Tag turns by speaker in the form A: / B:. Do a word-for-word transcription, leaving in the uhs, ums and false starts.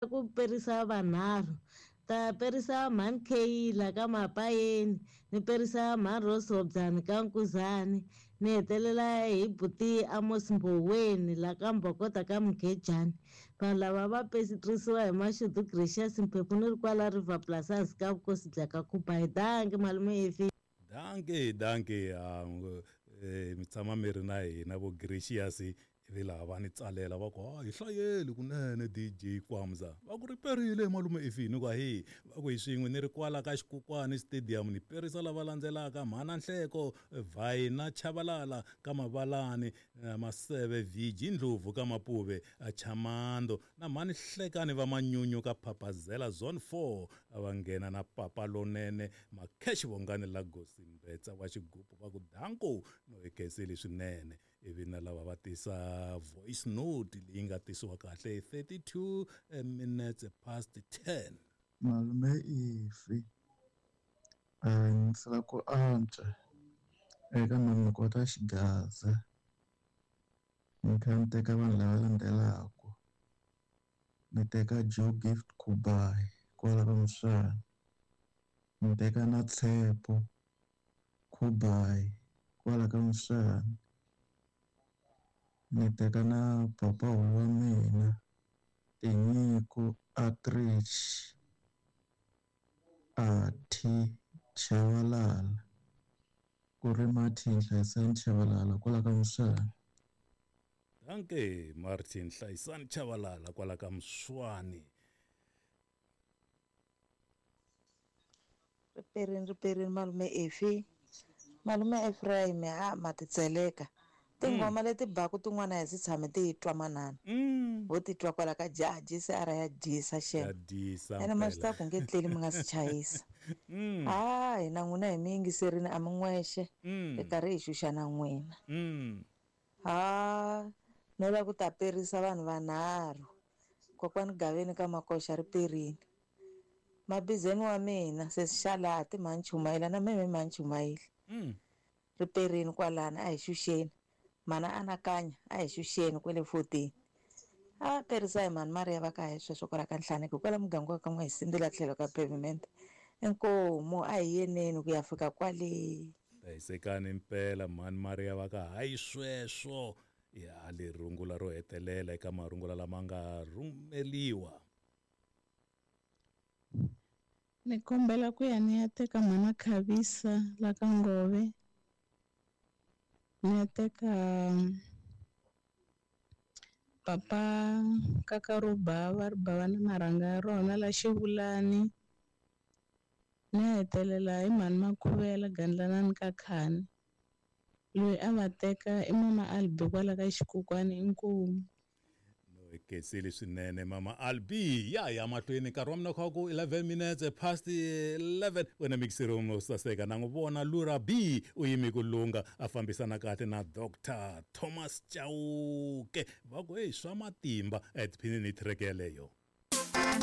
A: Ku perisa vanharhu ta perisa mhani Kayla ka Mapayeni ni perisa mhani Rose Hobyani ka Nkuzani ni hetelela hi buti Amos Mboweni la ka Mbokota ka Mkhejani. Vanhu lava va perisiwa hi Mashudu Gracious Mphephu ni ri kwala River Plus ka vukosi bya ka Khuba. Hi danki malume Efi.
B: Danke danke um, eh, mi tshama mi ri na hina vo Gracious ivi laha va ni tsalela va ku ha hi hlayeli kunene D J Kwamza va ku ri perile malume Efini ku hi va ku hi swin'we ni ri kwala ka Xikukwani Stadium ni perisa lava landzelaka mhana Nhleko Vhayina Chabalala ka Mavalani Maseve V G Ndlovu ka Mapuve Chamando na mhani Hlekani va Manyunyu ka Phaphazela Zone four va nghena na Papa Lonene Makhesh Vongani la Gosimbetsa wa xigubu va ku danko no hi khensile swinene. Ivi na lava va tisa voice note leyi nga tisiwa kahle thirty-two minutes past ten.
C: Malume Ifi ndzi lava ku antswa eka ni kota xigaza ni kha ni teka vanhu lava landzelaka ni teka Joe Gift Kubai kwala ka Muswana ni teka na Tshepo Kubai kwala ka Muswana ni teka na papa wa mina Tinyiko Atrich Athi Chabalala ku ri Martin Hlayisani Chabalala kwala ka Muswana.
B: Danke Martin Hlayisani Chabalala kwala ka Muswani.
D: Riperini riperini malume Efi malume Ephraim a ma titseleka tingoma leti baku tin'wana hi si tshame ti twa manana ho ti twa kwala ka jaha ara ya dyisa xena ene ma swi ta ku nge tleli mi nga si chayisa a hina n'wina hi mi yingiserini a mi n'wexe hi karhi hi xuxa na n'wina ha no lava ku ta perisa vanhu vanharhu kokwani Gaveni ka Makoxa ri perini mabizeni wa mina sesi Xalati mhani Chumayela na meme mhani Chumayela ri perini kwalana a hi xuxeni mana anakanya a hi xuxeni kwele fourteen a perisa hi mhani Maria va ka hi sweswo kwala ka Nhlaneko kwala muganga wa ka n'we hi sindzela tlhelo ka pavement inkomu a hi yeneni ku ya fika kwale.
B: Hlayisekani mpela mhani Maria va ka hayi sweswo ya le rungula ro hetelela eka marungula lama nga rhumeliwa.
E: Ni kombela ku ya ni ya teka mhana Khavisa la ka Ngove ni ya teka papa Kakarubava ri bava na marhanga ya rona la Xivulani ni ya hetelela hi mhani Makhuvela Gandlanani ka Khani loyi a va teka i mama Albi kwala ka Xikukwani inkomu.
B: Khensile swinene mama Albi ya ya mahlweni nkarhi wa mina kha ku eleven minutes past eleven wena mixer wo saseka na n'wi vona Lura B u yime ku lunga a fambisana kahle na Doctor Thomas Chauke va ku hey swa matimba etiphinini track yeleyo.